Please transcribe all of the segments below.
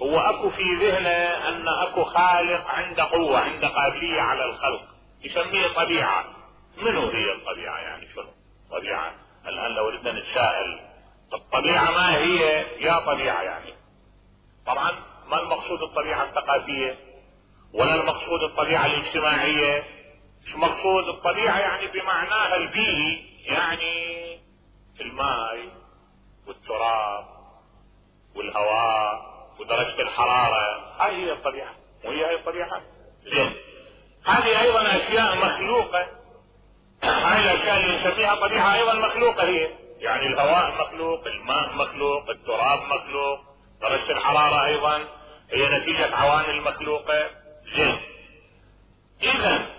هو اكو في ذهنه ان اكو خالق عنده قوة، عنده قابلية على الخلق، يسميه طبيعة. منو هي الطبيعة؟ يعني شنو طبيعة؟ الان لو ردنا نتساءل الطبيعة ما هي يا طبيعة يعني؟ طبعا ما المقصود الطبيعة الثقافية ولا المقصود الطبيعة الاجتماعية. مش مقصود الطبيعة يعني بمعناها البيئي، يعني الماء والتراب والهواء ودرجة الحرارة، هاي هي الطبيعة. وهي الطبيعة زين، هذه ايضا اشياء مخلوقة. هاي الاشياء اللي نسميها طبيعة ايضا مخلوقة هي، يعني الهواء مخلوق، الماء مخلوق، التراب مخلوق، درجة الحرارة ايضا هي نتيجة عوامل مخلوقة. زين، اذا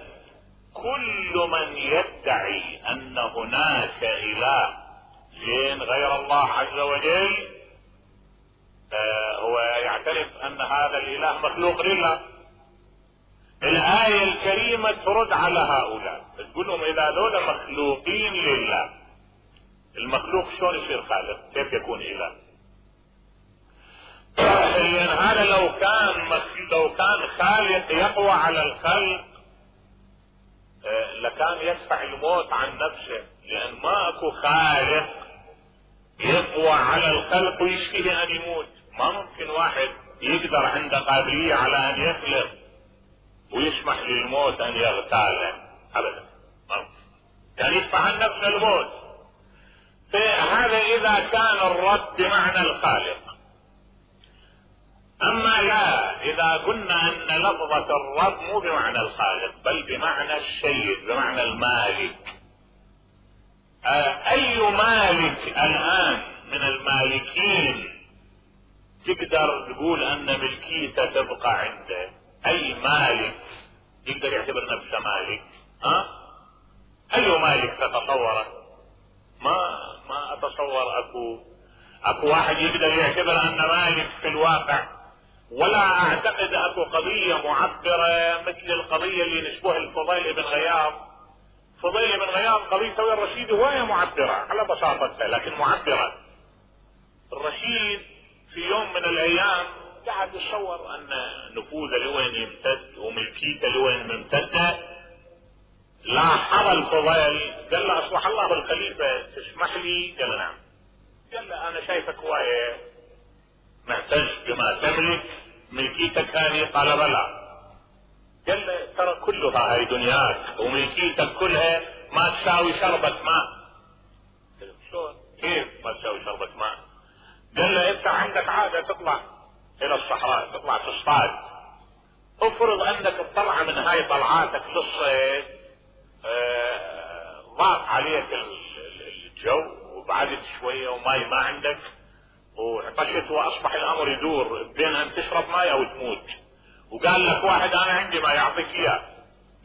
كل من يدعي ان هناك اله زين غير الله عز وجل هو يعترف ان هذا الاله مخلوق لله. الآية الكريمة ترد على هؤلاء، تقول لهم اذا ذولا مخلوقين لله، المخلوق شلون يصير خالق؟ كيف يكون اله؟ لان هذا لو كان خالق يقوى على الخلق لكان يدفع الموت عن نفسه، لان ما اكو خالق يقوى على الخلق ويشفيه ان يموت. ما ممكن واحد يقدر عنده قابلية على ان يخلق ويسمح للموت ان يغتاله ابدا، يعني يدفع عن نفسه الموت. فهذا اذا كان الرب بمعنى الخالق. اما لا، اذا قلنا ان لفظة الرب مو بمعنى الخالق بل بمعنى السيد، بمعنى المالك. اي مالك الان من المالكين تقدر تقول ان ملكيته تبقى عنده؟ اي مالك يقدر يعتبر نفسه مالك؟ اي مالك تتصوره؟ ما اتصور اكو واحد يقدر يعتبر ان مالك في الواقع. ولا اعتقد اكو قضية معبرة مثل القضية اللي نشبه الفضيل بن غياض. فضيل بن غياض قضيته ويا الرشيد هواية معبرة على بساطتها، لكن معبرة. الرشيد في يوم من الايام قاعد يتصور ان نفوذه لوين يمتد وملكيته لوين ممتدة. لاحظ الفضيل قال له اصلح الله بالخليفة تسمح لي؟ قال له نعم. قال له انا شايفك هواية معتز بما تملك، ملكيتك هذه؟ قال بلى. قال له ترى كلها هاي دنياك وملكيتك كلها ما تساوي شربة ماء. شلون؟ كيف ما تساوي شربة ماء؟ قال له انت عندك عادة تطلع الى الصحراء، تطلع تصطاد. افرض انك تطلع من هاي طلعاتك للصيد، ضاق عليك الجو وبعدت شوية وماي ما عندك وعطشت واصبح الامر يدور بين ان تشرب ماء او تموت، وقال لك واحد انا عندي ما يعطيك اياه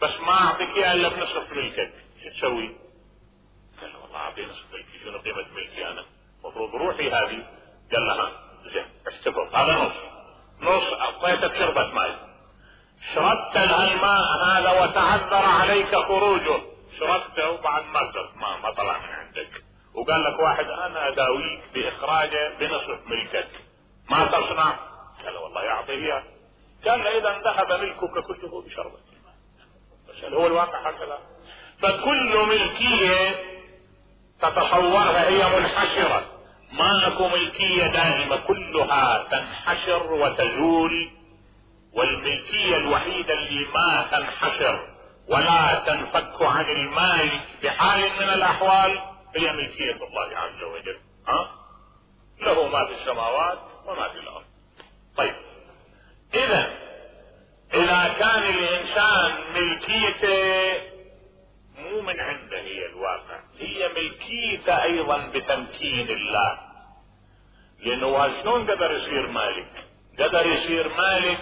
بس ما اعطيك اياه الا بنصف ملكك، شو تسوي؟ قال له والله اعطي نصف ملكي، شنو قيمة ملكي انا؟ المفروض روحي هذه. قال له زين احتفظ هذا نص اعطيتك شربة ماء، شربت الماء هذا وتعذر عليك خروجه، شربته وبعد ما طلع من عندك، وقال لك واحد انا اداويك باخراجه بنصف ملكك، ما تصنع؟ قال والله يعطيه اياه. قال له اذا ذهب ملكك كله بشربة الماء. بس هو الواقع هكذا. فكل ملكية تتصورها هي منحشرة، ما اكو ملكية دائمة، كلها تنحشر وتزول. والملكية الوحيدة اللي ما تنحشر ولا تنفك عن المالك بحال من الاحوال هي ملكية الله عز وجل. له ما في السماوات وما في الارض. طيب اذا كان الانسان ملكيته مو من عنده هي الواقع، هي ملكيته ايضا بتمكين الله. لانه شلون قدر يصير مالك؟ قدر يصير مالك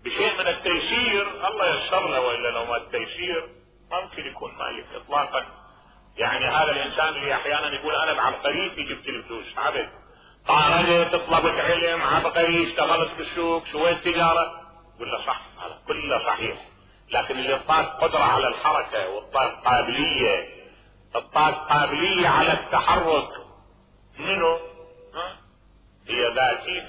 بشيء من التيسير، الله يسر له، والا لو ما التيسير ما ممكن يكون مالك اطلاقا. يعني هذا الانسان اللي احيانا يقول انا بعبقريتي جبت الفلوس، عبد طالت طلبت علم، عبقري، اشتغلت بالسوق، سويت تجارة، يقول له صح، هذا كله صحيح. لكن اللي اعطاك قدرة على الحركة واعطاك قابلية على التحرك منه هي ذاتيته